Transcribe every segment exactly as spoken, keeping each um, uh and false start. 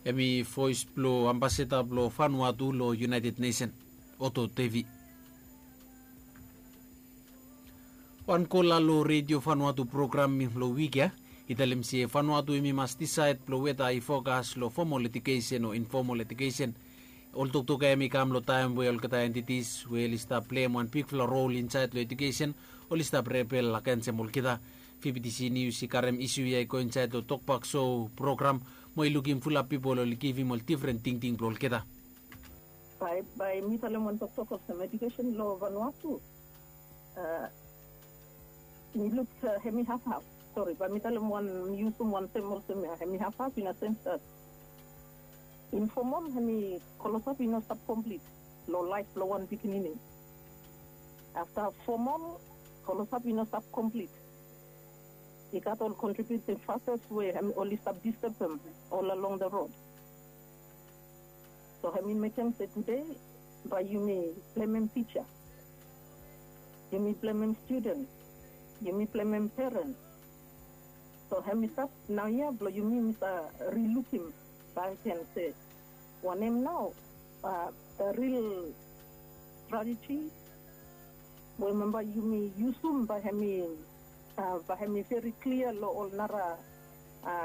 Hemi voes blong ambasada blong Vanuatu long United Nation, Otto Tevi. Wan kola long Redio Vanuatu program long wik ya i talem se Vanuatu hemi mas disaed blong weta i fokas long fomol ejukesen o infomol ejukesen. Ol toktok ya hemi kam long taem we olgeta entitis we oli stap pleim wan bigfala rol insaed long ejukesen oli stap rebel agensem olgeta. Fibitisi nius i karem isu ya i go insaed long tokbak so program mo i lukim fulap pipol oli givim ol difren tingting blong olgeta. Bae mi talem wan toktok olsem ejukesen long Vanuatu, mi luk hemi hafhaf. Sori, bae mi talem wan, mi yusum wan tem olsem ya, hemi hafhaf in a sens that infomol hemi klosap i no stap komplit long laef blong wan pikinini. Afta fomol klosap i no stap komplit, i gat ol kontribiuting faktas we oli stap distebem ol along da rod. So hemi mekem se tude bae yumi blemem tija, yumi blemem studen, yumi blemem peren. So hemi stap naoia blong yumi mi sa rilukim bae gen se wanem nao da ril strateji we memba yumi yusum bae hemi bae hemi veri klia long ol nara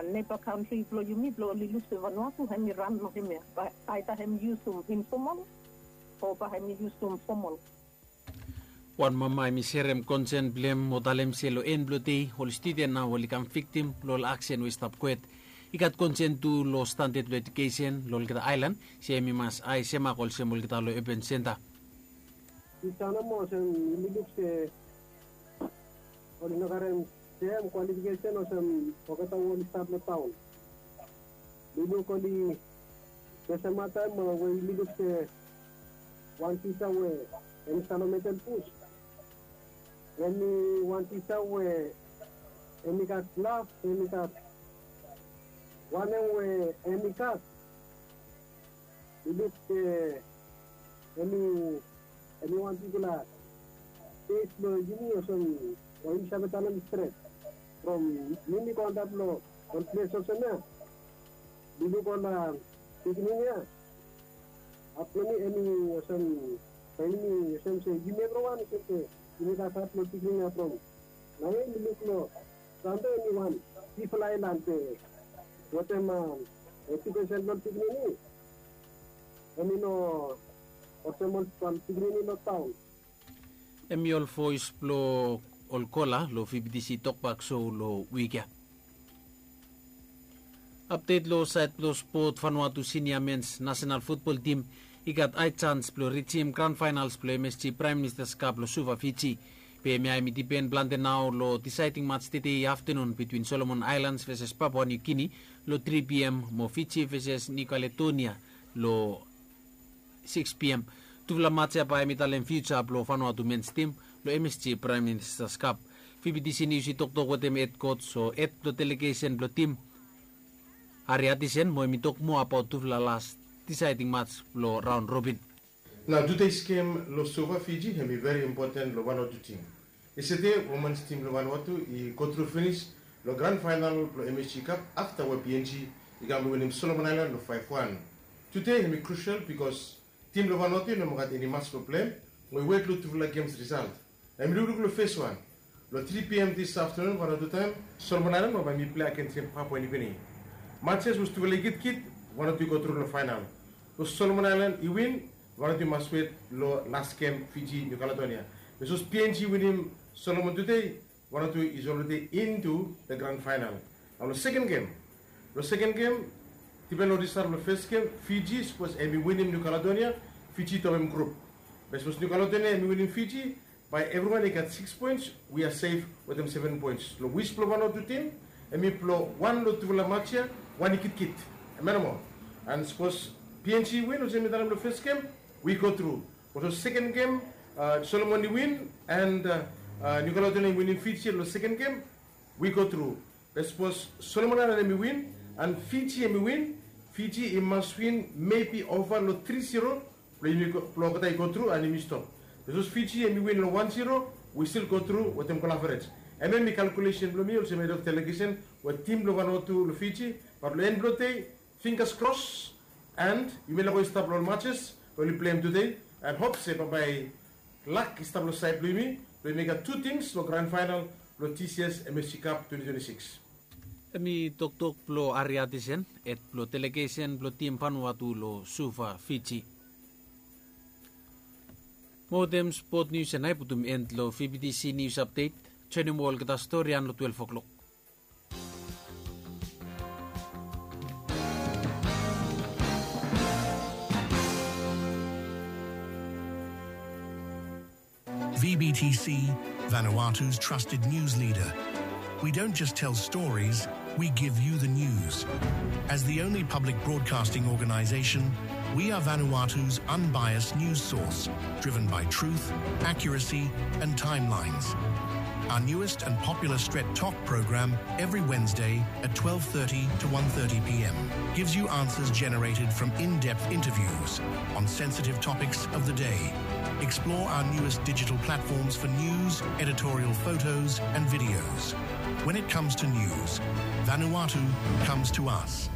neba kantri blong yumi blong oli luk se Vanuatu hemi ran long hemia, bae aeda hemi yusum infomol o bae hemi yusum fomol. Wan mama hemi serem konsen blong hem mo talem se long en blong dei ol studen nao oli kam viktim long ol aksen we i stap kwet. I gat konsen tu long standad blong ejukesen long olgeta aelan se hemi mas ae semak olsem olgeta long open senta. Tisa nomo olsem yumi luk se oli no karem sem kwalifikesen olsem olgeta we oli stap long taon. Mi luk oli, se semataem we yumi luk se wan tisa we hemi stap long metel bus, hemi wan tisa we hemi gat laf, hemi gat wanem we hemi gat. Mi luk se hemi hemi wan bigfala kes blong yumi olsem we yumi save talem stret. From mi mi go antap long ol ples olsem ya, mi luk ol pikinini ya, haf blong mi hemi olsem, bae yumi olsem se yumi evriwan olsem se yumi gat haf blong pikinini ya from Naoia mi luk long Sande hemi wan bigfala aelan be wetem ejukesen blong pikinini hemi no olsem ol pikinini long taon. Hemi ol voes blong ol kola long V B T C tokbak so long wik ya. Apdet long saed blong spot, Vanuatu sinia mens nasenal futbol tim i gat hae jans blong rijim gran faenals blong M S G Praem Ministas Kap long Suva, Fiji. Be hemia hemi dipen plante nao long disaeding mats tede aftenun bitwin Solomon Aelans veses Papua Niu Gini long tri P M mo Fiji veses Niu Kaledonia long six P M. Tufala mats ya bae hemi talem fiuja blong Vanuatu mens tim long M S G Praem Ministas Kap. V B T C Nius i toktok wetem hed koj o hed blong delegesen blong tim, Harry Hutchison, mo hemi tok moa abaot tufala las disaeding mats blong raon robin. Nao tude gem long Suva, Fiji hemi veri impoten long Vanuatu tim. Yestede womens tim blong Vanuatu i gotru finis long gran faenal blong M S G Kap afta we P N G i kam long winim Solomon Aelan long faef wan. Tude hemi krusel bikos tim blong Vanuatu i no moa gat eni mats blong pleim, mo i wet long tufala gems risalt. Hemi lukluk long fes wan. Long tri P M dis aftenun Vanuatu taem, Solomon Aelan mo bae hemi plei agensem Papua Niu Gini. Mats ya sapos tufala i kitkit, Vanuatu i gotru long faenal. Sapos Solomon Aelan i win, Vanuatu i mas wet long las gem Fiji Niu Kaledonia. Be sapos P N G i winim Solomon tude, Vanuatu is already into the gran faenal. Nao long seken gem, long seken gem, dipen long risalt blong fes gem, Fiji sapos hemi winim Niu Kaledonia, Fiji i topem grup. Be sapos Niu Kaledonia hemi winim Fiji, bae evriwan i gat sikis poens, we are safe wetem seven poens. Long wis blong Vanuatu tim hemi blong wan long tufala mats ya wan i kitkit. Hemia nomo. And sapos P N G i win olsem mi talem long fes gem, we gotru. Be long seken gem, Solomon i win and Niu Kaledonia i winim Fiji long seken gem, we gotru. Be sapos Solomon Aelan hemi win and Fiji hemi win, Fiji i mas win mebi ova long tri zero blong olgeta i gotru and yumi stop. Be sapos Fiji hemi win long wan zero, we stil gotru wetem gol averej. Hemia hemi kalkulesen blong mi olsem hed of delegesen we tim blong Vanuatu long Fiji, bat long en blong dei Fingers crossed, and yumi laik go i stap long ol matches we oli pleim tude, and hope se bambae lak i stap long saed blong yumi blong yumi gat tu tims long grand final blong T C S M S C Cup twenty twenty-six. Hemi toktok blong Ari Atisen, hed blong delegesen blong tim Vanuatu long Suva, Fiji. Mo wetem spot nius ya nao i putum en long V B T C News Update. Joenem olgeta stori ia long twelve o'clock. V B T C, Vanuatu's trusted news leader. We don't just tell stories, we give you the news. As the only public broadcasting organization, we are Vanuatu's unbiased news source, driven by truth, accuracy, and timelines. Our newest and popular Stret Tok program every Wednesday at twelve thirty to one thirty p.m. gives you answers generated from in-depth interviews on sensitive topics of the day. Explore our newest digital platforms for news, editorial photos, and videos. When it comes to news, Vanuatu comes to us.